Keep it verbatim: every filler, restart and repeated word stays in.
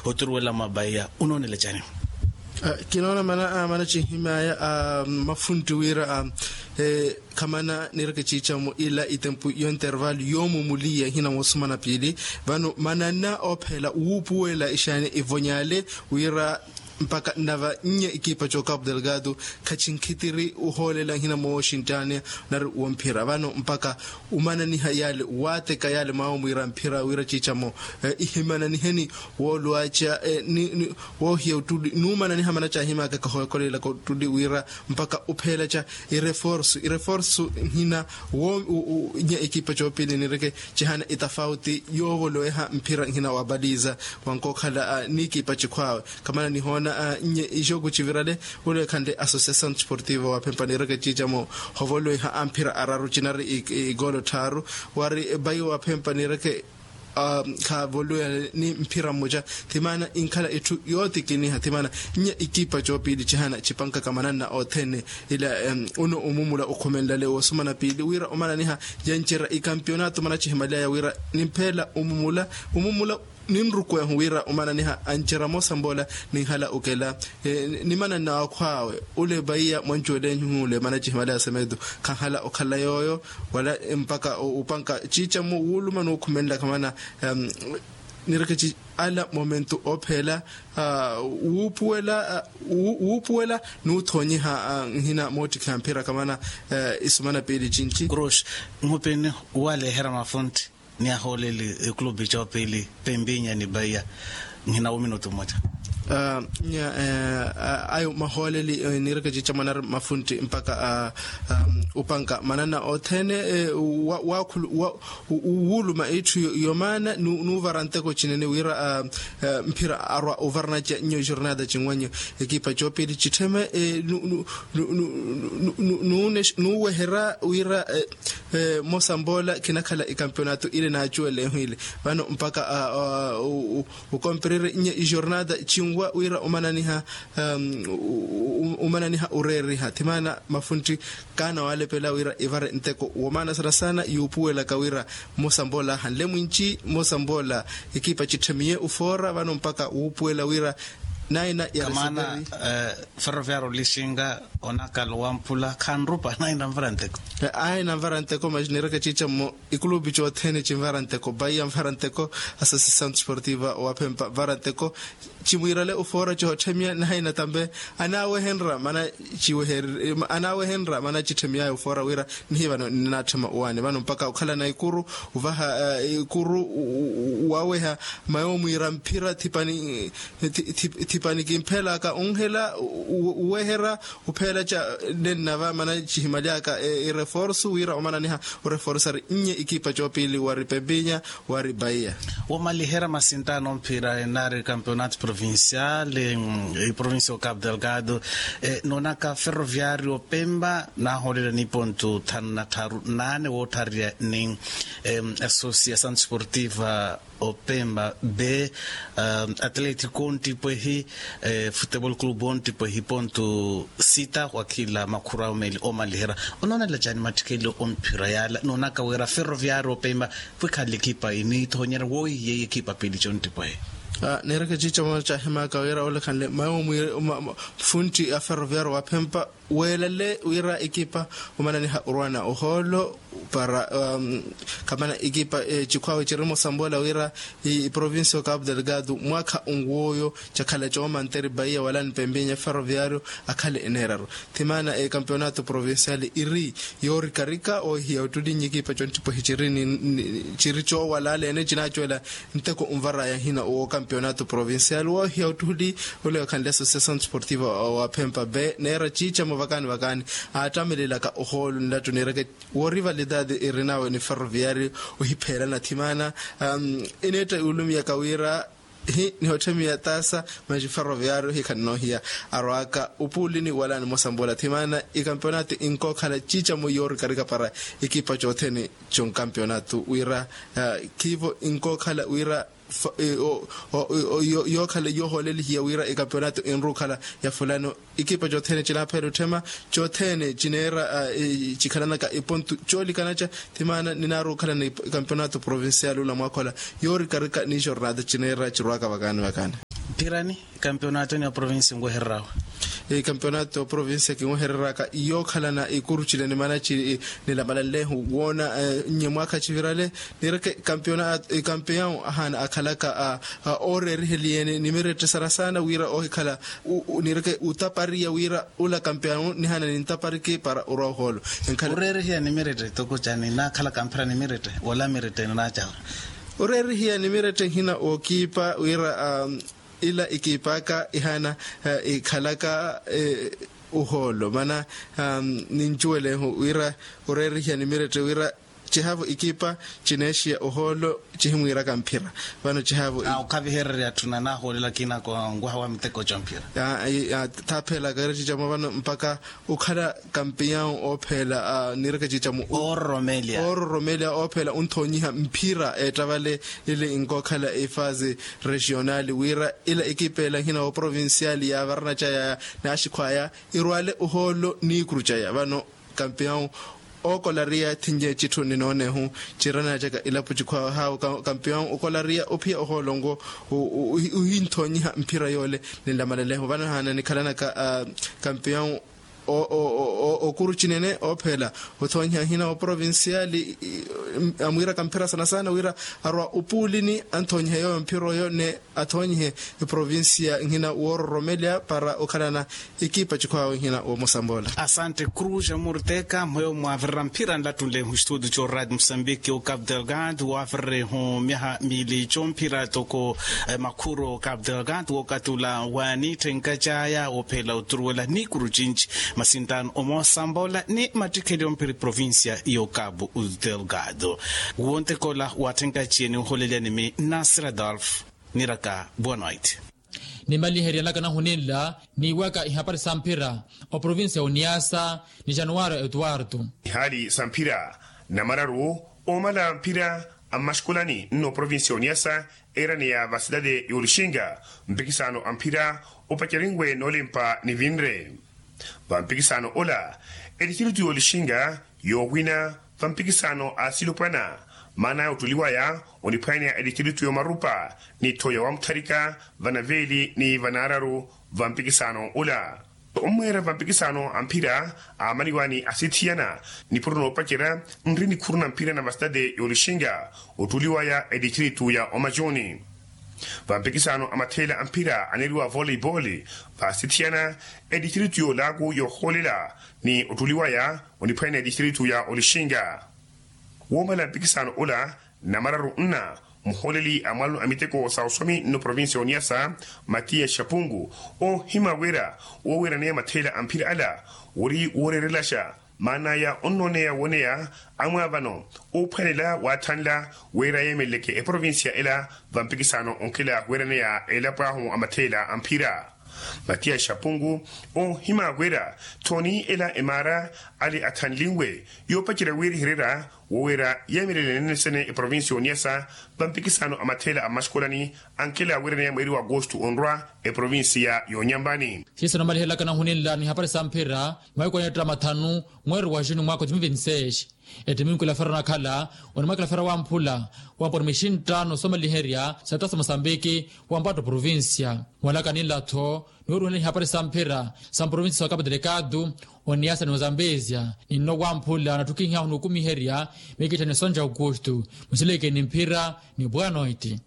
Oturuwela mwa baiya unoonela cani? Kinoona mana mana cihimaya mafunti wira khamana nireke ciicamu ila itempu yo intervalu yoomumuliya hina moosumana piili. Vano mananna oophela wuupuwela ixaani ivonyale wira mpakha nnava nnya ikipa co capu delgado khacinkhitiri uhoolela nhina mooxinttaniya nari womphira vano mpakha umananiha yale waateka yale mwawo mwiira mphira wira ciicamo ihimananiheni woolwaca woohiya ottuli nuumananiha mana caahimaka kahokolelaka ottuli wira mpakha upheelaca ireforsu ireforsu nhina wo nnya ikipa coopili nireke cihana itafauti yoovoloweha mphira nhina wa baliza wankookhala n'ikipa cikhwaawe. Khamana nihoona nnya ixooku civirale ule khanle association sportivo wa phempa nireke ciicamo hovoloweha amphira araru cinari igoolo tthaaru wari bayi wa phempa nireke khavoloweha ni mphira mmoca. Thimaana inkhala itthu yootikiniha thimaana nnya ikipa coopili cihana cipankaka mananna othene ila uno umumula ukhumenlale woosumana piili wira omananiha yancerya ikampionato mana cihimalyaya wira nimpheela umumula umumula ninrukwehu wira omananiha ancerya moosambola ninhala okela ni mananna akhwaawe ule baiya mwancuwele nhule mana cihimalyaya semedo khanhala okhala yooyo wala mpakha upanka ciicamo wuuluma nuukhumenlaka mana nireke ci ala momentu oopheela wuupuwela wuupuwela nuuthoonyiha nhina moottikhiha mphira khamana isumana piili cinci. Cruz, nhupini waleehera mafuntti ni ahooleli ekulupi coopili pempinya ni baiya nhina wo minutu mmoca. Nya ayo mahooleli nireke ciicamana ari mafuntti mpakha upanka manana othene waakhulu wuuluma itthu yomaana nuuvara nteko cinene wira mphira arwa ovaranaca nyo jornada cinwanyo ekipa coopili cittheme nuuweherya wira mosambola kinakhala ikampionato ile naacuwelehu ile vano mpakha ukompererye nyo ijornada cinwa wira omananiha omananiha oreeriha thimaana mafuntti kaana waalepela wira ivare nteko womaana sana sana yuupuwelaka wira mmosa mboola ahanle mwinci mmosa mboola ekipa citthemiye ufoora vano mpakha wuupuwela wira naina yarisiteri. Ferroviario lixinga onakala owamphula khanrupa naina nvara nteko. Aina nvara nteko mas nireke ciicammo ikulupi cothene cinvara nteko baiya nvara nteko associação desportiva wa phempa nvara nteko cimwiirale ufoora cihotthemiya nahaina tambe anaawehenra mana ciwehererye anaawehenra mana citthemiyaya ufoora wira nihi vano ninaatthema owaani vano mpakha okhalana ikuru ovaha ikuru waweha mayo mwiira mphira thipani thipani kimphelaka onhela uweherya upheela ca nennava mana cihimalyaka ireforsu wira omananiha oreforsari nnye ikipa coopili wari pempinya wari baiya. Womaliherya masintaano mphira enaari campeonato provincial iprovincia o capo delgado noonaka ferroviario pemba naahoolele ni pontu thanu na tharu naane woottharya ni associação desportiva opemba be atlético ontipwehi futebol club ontipwehi pontu sita wakhila makhura omeeli omaliherya. Onoonela cani mattikelo omphira yaala noonaka wira ferroviario opemba pwikhanle ekipa inithoonyerya woohiya ekipa piili contipwehi. Neereke ciica moona caahimaka wira olekhanle mayo mwiire funtti a ferroviario wa phempa weelale wira ekipa omananiha orwana ohoolo para khamana ekipa cikhwawe ciri mosamboola wira iprovincia o capo delgado mwaakha onw'oyo cakhala coomanteri baiya wala nipempinya ferroviario akhale eneeraru thimaana ekampeonato provincial iri yoorikarika oohiya ottuli nyikipa conttipwehi ciri coowalala ene cinaacuwela nteko onvaraya hina owo kampeonato provincial woohiya ottuli ole okhanle associação desportiva wa phempa be neera ciicamo vakaani vakaani aattamelelaka ohoolo nlattu niireke woorivalidade eri nawe ni ferroviario ohipheelana thimaana ineetta yuulumiyaka wira hi nihotthemiya taasa manji ferroviario hikhanne noohiya arwaaka opuulini wala nimosambola thimaana ikampeonato inkookhala ciicamo yoorikarika para ikipa coothene conkampeonato wira khiivo inkookhala wira yookhala yoohoolelihiya wira ikampeonato inrukhala ya fulano ikipa coothene cinaaphela otthema coothene cineera cikhalanaka ipontu coolikanaca thimaana ninaari okhala ni kampeonato provincial ola mwaakhola yoorikarika ni jornada cineera cirwaaka vakaani vakaani. Phirani, kampeonato ni oprovinsi nwehereryawe. Kampeonato oprovinsi kinwehereraka yookhalana ikurucile ni manaci. Nilamalanlehu woona nye mwaakha civirale, nireke kampeonato kampeon ahaana akhalaka a ooreeriheliye ni nimirette sana sana wira ohikhala nireke utapariya wira ula kampeon nihaana nintapariki para orwa ohoolo. Oreerihiya nimirette toko cani naakhalaka mphira nimirette wola mirette ninaacawe. Oreerihiya nimirette nhina ookiipa wira ila ikiipaka ihaana ikhalaka ohoolo mana nincuwelehu wira oreerihiya nimirette wira cihavo ikiipa cineexiya ohoolo cihimwiiraka mphira. Vano cihavo okhavihererya atthu nanahoolela akina ko nwaha wa miteko ca mphira. Thaaphelaka ira cica mwa vano mpakha okhala kampeon oopheela nireke cica mu oororomeelya oopheela onthoonyiha mphira eettavale ili nkookhala efase regional wira ila ekipa ela nhina wa provincial yaavarana caya naaxikhwaya irwale ohoolo niikuru caya vano kampeon ookolariya thinye citthu ninoonehu cirana caka ilapo cikhwawe haawo kampeon okolariya ophiya ohoolongo ohinthoonyiha mphira yoole. Ninlamalaleho vano haana nikhalanaka kampeon okuru cinene oopheela othoonyiha nhina oprovinciali amwiiraka mphira sana sana wira arwa opuulini anthoonyihe yooyo mphira oyo ne athoonyihe eprovincia nhina woororomelya para okhalana ekipa cikhwaawe nhina woomosambola. Asante cruz amurteka mweyo mwaavirira mphira nlattunle mustudio co radio mosambiki okapu delgado waavirire hu myaha miili comphira toko makhuro okapu delgado wookatula waaniitthenka caaya woophela oturuwela niikuru cinci masinttaano omoosambola ni mattikheli omphira eprovincia y'okapu delgado. Wontekola waathenka ciye niholelya nimi nasir adolf niraka bonoit. Nimaliherya nlaka nahu ninla niiwaka ihapari sa mphira oprovincia ya oniasa ni januwaro etuwartu. Ihaali sa mphira namararu oomala mphira ammaxikulani nno provincia ya oniasa eeraneya va sitade ya olixinga mpikisano a mphira opacerinwe noolimpa nivinre. Vampikisano ola etistritu y'olixinga yoowina vampikisano a silupwana maana ya ottuliwaya oniphwaneya etistritu y'omarupa ni tho ya wamutharika vanaveeli ni vanaararu. Vampikisano ola ommweera vampikisano a mphira aamaliwa ni asithiyana nipuro noopacerya nri nikhuru na mphira na vasitade y'olixinga ottuliwaya etistritu ya omacuni. Vampikisano a matheela a mphira aneeriwa voleibole vaasithiyana etistritu y'olaaku yoohoolela ni ottuliwaya oniphwaneya etistritu ya olixinga. Woomala mpikisano ola namararu nna muhooleli a mwalano a miteko sa oswami nno provincia ya oniasa matiya xapungu oohima wira wooweeraneya matheela a mphira ala wori wooreerelaxa maan'aya onnooneya wooneya amwaavano oophwanela waathanla wira yeemeleleke eprovincia ela vampikisano onkela weeraneya elapo ahu a matheela a mphira. Matiya xapungu oohima wira thooni ela emaara ale athanlinwe yoopacerya wiirihererya wooweera yeemelele nennesene eprovincia ya oniasa vampikisano a matheela a mmaxikolani ankela weeraneya mweeri wa agosto onrwa eprovincia ya onyambani. Siiso namalihelaka nahuninla ni hapari sa mphira mwaikwaneetta mathanu mweeri wa juni mwaaka wa dois mil vinti seis. Ettiminkula fera onakhala onimwakela fera wamphula wamponi mixinttaano soomaliherya sa ttaso mosambiki wampatta oprovincia mwalaka ninla-tho niweruhela nihapari sa mphira sa mprovincia sa okapu delikatu oniasa ni ozambezia. Ninno wamphula natthukihihahu nukumiherya mikittha ni sonja aukustu musileke ni mphira ni bwanoiti.